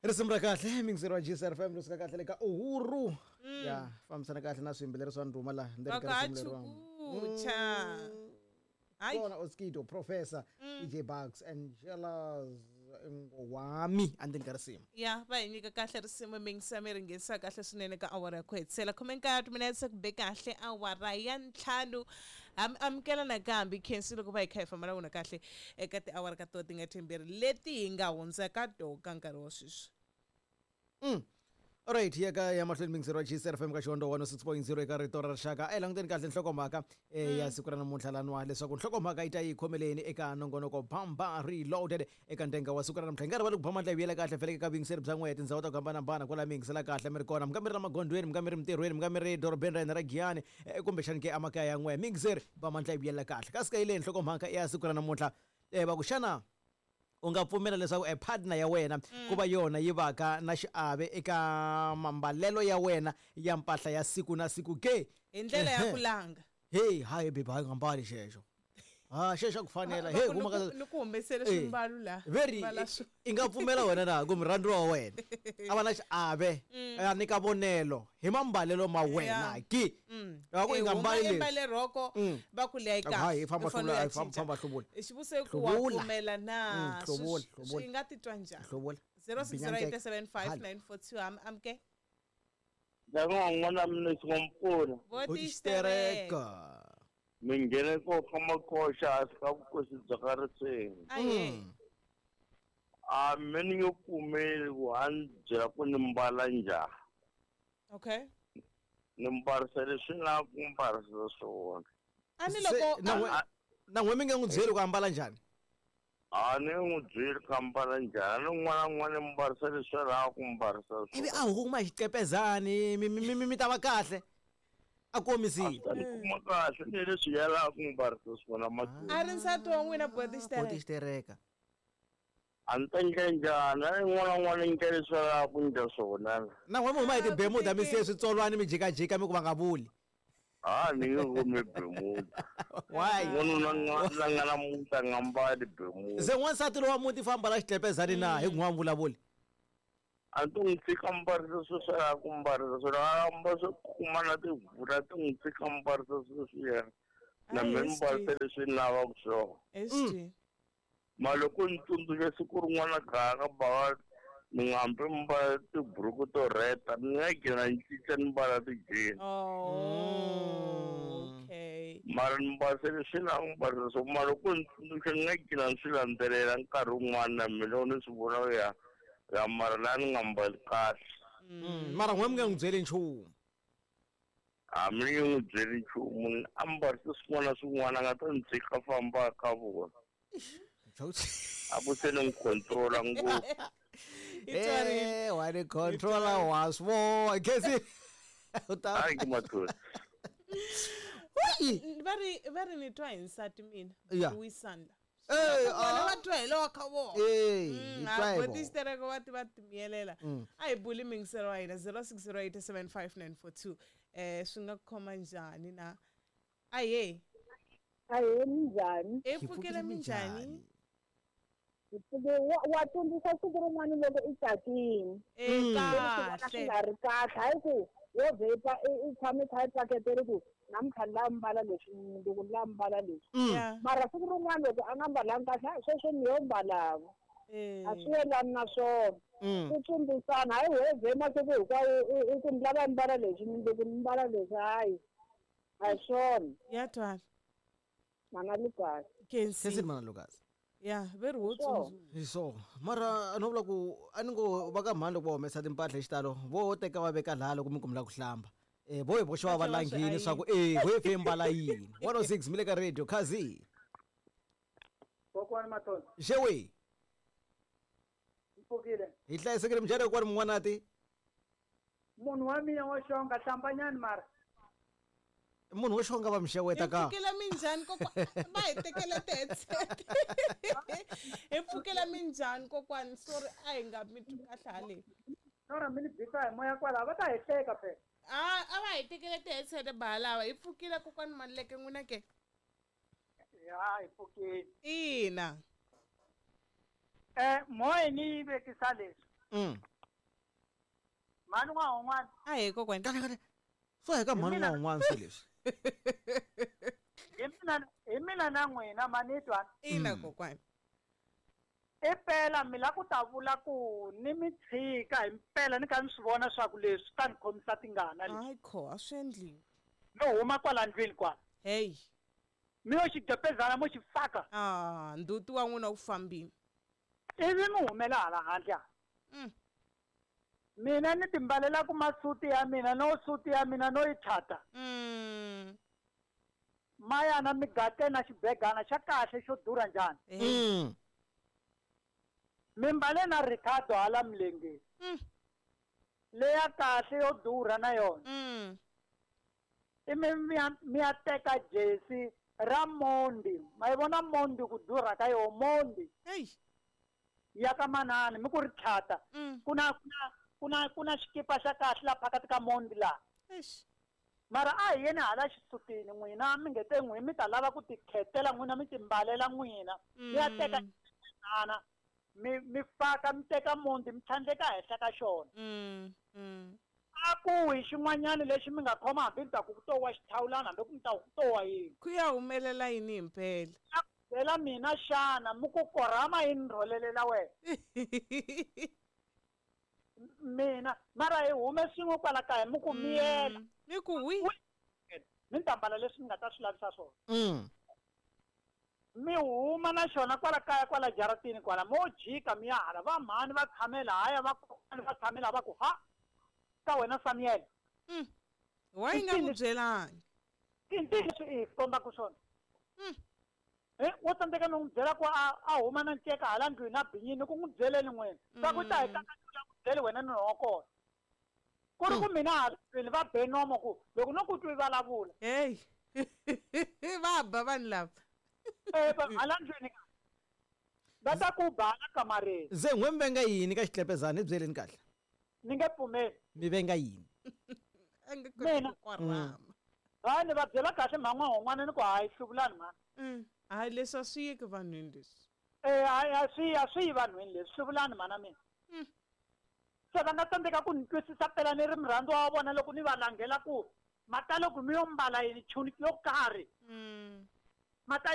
Risimu ra kahle mixer wa GCR FM ri suka kahle le ka Uhuru. Ya fambisana kahle na swiyimbeleri swa ndhuma laha ndzeni ka risimu leriwani. Vakachukucha. Hayi. Kona Oskido, Professor, DJ Bugs, Angela Ngowami endzeni ka risimu. Ya va hi nyika kahle risimu mingisa mi ri nghenisa kahle swinene ka awara ya ku hetisela 19 timinetse ku be kahle awara ya 5 amukela nakambe khensi loko va hi kha hi famba na vona kahle eka tiawara ka to ti nga timbirhi leti hi nga hundza ka to ka nkarhi wa sweswi. Alright, ya ka ya mahlweni mixer wa GCR FM ka Xihondzo 106.0 eka rito ra rixaka. A hi languteni kahle nhlokomhaka ya siku ra namuntlha laniwa leswaku nhlokomhaka yi ta yi khomeleni eka nongonoko Bamba Reloaded eka ndenga wa siku ra namuntlha. Hi nga rivali ku ba mandla hi vuyela kahle vhele eka vuyingiseri bya n'wehe tindhawu ta ku hambanahambana kwala mi yingisela kahle mi ri kona. Mi nga mi ri la magondzweni, mi nga mi ri mintirhweni, mi nga mi ri dorobeni ra hina ra Giyani kumbexani ke emakaya ya n'wehe. Miyingiseri ba mandla hi vuyela kahle. Kasi ka yi leyi nhlokomhaka ya siku ra namuntlha va ku xana u nga pfumela leswaku e partner ya wena ku va yona yi vaka na xiave eka mambalelo ya wena ya mpahla ya siku na siku ke? Hi ndlela ya ku langa. Hey, hayi baby, hayi nga mbali xexo. Ha, xexo a ku fanela. Hey, huma ka ni ku humesele swimbalo la. Very Mbala swo. i nga pfumela wena na ku murhandziwa wa wena a va na xiave a nyika vonelo hi mambalelo ma wena ki? Va ku i Eh, nga huma mbali leswi. embale rhoko va ku leyi Hayi, kahle. i famba U fanele hluvula, u ya hayi, famba- cinca. famba hluvula. Xivutiso i ku wa Hluvula. pfumela na Hluvula, Swi- hluvula. swi nga titwa njhani? Hluvula. 06087594 am amke. Ndyangu n'wana mina swi nga mi pfuna. Votixitereka. Mi nghene ko ka makoxa hansi ka vukosi bya ka risimu. Ahe. A me ni nge pfumeli ku a ni byela ku ni mbala njhani. Okay. Ni mbarisa leswi ni lavaka ku mbarisa swona. A ni loko na n'we na n'we mi nga n'wi byeli ku ambala njhani? A ni n'wi byeli ku ambala njhani, ni n'wana na n'wana ni mbarisa leswi a lavaka ku mbarisa Ivi swona. a huma hi xiqepezani mi mi mi mi ta va kahle. A komisile. A ni kuma kahle ni leswi ya lavaka ku mbarisa swona mahlweni. A ri nsati wa n'wina botixitereka. Botixitereka. A ni ta endla njhani? A ni n'wana na n'wana ni endla leswi a lavaka ku endla swona. Na n'we mi huma hi Ah, tibemuda mi ku siye switsolwani mi jikajika mi ku va nga vuli. A ni nge humi bemuda. Why? N'wanuna la nga na muti a nga mbali bemuda. Se n'wansati lowa muti famba la xiqepezani na hi ku n'wa vulavuli. A ni to n'wi tshika mbarisa sweswi a lavaka ku mbarisa swona. A mbala swo kuma na tivula ti n'wi tshika mbarisa sweswiya. Na Ayi, mina ni mbarisa leswi ni lavaka swona. SG. Ma loko ni tsundzuxa siku rin'wana kaya ka bava ni nga hambi ni mbala tiburuku to rheta ni nga gcina ni cinca ni mbala ti-jean. Oh, okay. Mara ni mbarisa leswi ni lavaka ku mbarisa swona. Mara loko ni tsundzuxa ni nga gcina ni swi landzelela nkarhi wun'wana na mina loko ni swi vona ku ya ya mara laha ni nga mbali kahle. Mara n'we mi nga n'wi byeli nchumu. A mi nge n'wi byeli nchumu ni a mbarisa swin'wana na swin'wana a nga ta ni tshika famba ka vona. A ku se ni n'wi control-a ngopfu. Eh, wa ni controller wa swi vona. Khensi. U ta Hayi ke mathoni. Ui! Va ri va ri ni twa hi nsati mina. Yeah. Wisani la. Eh, Vona ah. va twa hi lowa ka vona. Eh, hi twa hi vona. Botixitereka va ti va timiyelela. A hi buli mingiselo wa hina 06087594 swi nga khoma njhani na? Ahe. Ahee, minjhani? Hi pfukile minjhani? Hi pfuke wa tsundzuxa siku rin'wana loko i tsakile. Eh, Loko swi kahle. nga ri kahle hayi ku wo vhe i tshame i kha i paketele ku namuntlha ni lava mbala leswi mundzuku ni lava mbala leswi. Yeah. Mara siku rin'wana loko a nga mbalanga kahle hayi sweswo ni yo mbalanga. Eh. A swi yelani na swona. Ku tsundzuxana hayi wo vhe masiku hinkwawo i ku ni lava mbala leswi mundzuku ni mbala leswi hayi. A hi swona. Ya twala. Mana Lucas. Khensi. Khensi mana Lucas. Ya, ve ri wo Sure. tsundzuka. Hi so mara no vula ku a ni ngo va ka mhani loko va humesa timpahla hi xitalo vo teka va veka laha loko mi kumela ku hlamba. Vo hi voxe va va Va tlhela va swi langini swa ku vo hi fe mbala yini. 106 mi le ka radio Khazi. Kokwani Mathonsi, Xewe mi pfukile. hi hlayisekile minjhani kokwani mun'wanati? Munhu wa mina wo xonga hlambanyani mara. Munhu wo xonga va mi xeweta Hi ka. pfukile minjhani kokwani? Va hi tekele ti-headset. Hi pfukile minjhani kokwani? Sorry a hi nga mi twi kahle haleni. Nora mi ni bisa hi moya kwalaho va ta hi hleka phela. A va hi tekele ti-headset ba lava. Hi pfukile kokwani Maluleke n'wina ke? Ya hi pfukile. Ina. Moya ni yi vekisa leswi. Mhani n'wahon'wana. A hi kokwani. Kahle kahle. Swo hi ka mhani n'wahon'wana swi leswi. Hi mina na n'wina manitwa. Ina kokwani. I pela mi la ku ta vula ku ni mi tshika hi mpela ni kha ni swi vona swa ku leswi ta ni khomisa tingana leswi. Hayi kho a swi endliwi. No huma kwala ndlwini kwala. Hey. Mi yo xigepezana mo xi faka. Ah, nduti wa n'wina wu fambile. Ivi mi humela hala handle. Mina ni timbalela ku masuti ya mina no suti ya mina no yi thata. Mayana mi gate na xibegana xa kahle xo durha njhani. Mi mbale na Ricardo hala milengeni. Leya kahle yo durha na yona. I mi ya teka jesi ra Mondi. Ma yi vona Mondi ku durha ka yona Mondi. Ya ka manani mi ku ri thata. Ku na xikipa xa kahle la phakathi ka Mondi la. Mara a hi yeni hala xisutini n'wina mi nge te n'wi mi ta lava ku tikhetela n'wina mi timbalela n'wina. Mi ya teka xana mi faka mi teka Mondi mi tlhandleka henhla ka xona. A ku hi xin'wanyana lexi mi nga khoma hambi ni ta ku to wa xithawulana hambi ku ni ta ku to wa yini. Ku ya humelela yini himpela? Byela mina xana mi ku korhama yi ni rholelela wena. Mina mara hi hume swin'we kwala kaya mi ku miyela. Mi ku wi. Mi ta mbala leswi mi nga ta swi lavisa swona. Mi huma na xona kwala kaya kwala jaratini kwala mo jika mi ya hala va mhani va tshamela haya va kokwana va tshamela va ku ha ka wena Samuel. Wa yi nga ku byelangi. I leswi i hi kombaka swona. Wo tsandzeka no n'wi byela ku a huma na nceka hala ndlwini na binyini ku n'wi byeleni n'wina. Swa ku ta hi kakatula ku byele wena ni wa kona. Ku ri ku mina hala ndlwini va be nomo ku loko no ku twi vulavula. Hey. Va ba vanhu lava. Hala ndlwini va ta ku ba hala kamareni. Ze n'we mi venga yini ka xitlepezana hi byeleni kahle. Ni nge pfumeli. Mi venga yini? A nge koti ku korhama. Hayi ni va byela kahle mhani n'wana ni ku hayi hluvulani mhani. Hayi leswi a swi yiki vanhwini leswi. A swi yi vanhwini leswi hluvulani mhana mina. Se va nga tsandzeka ku ni twisisa phela ni ri murhandziwa wa vona loko ni va langhela ku mata loko mi yo mbala yini chuni yo karhi. Mata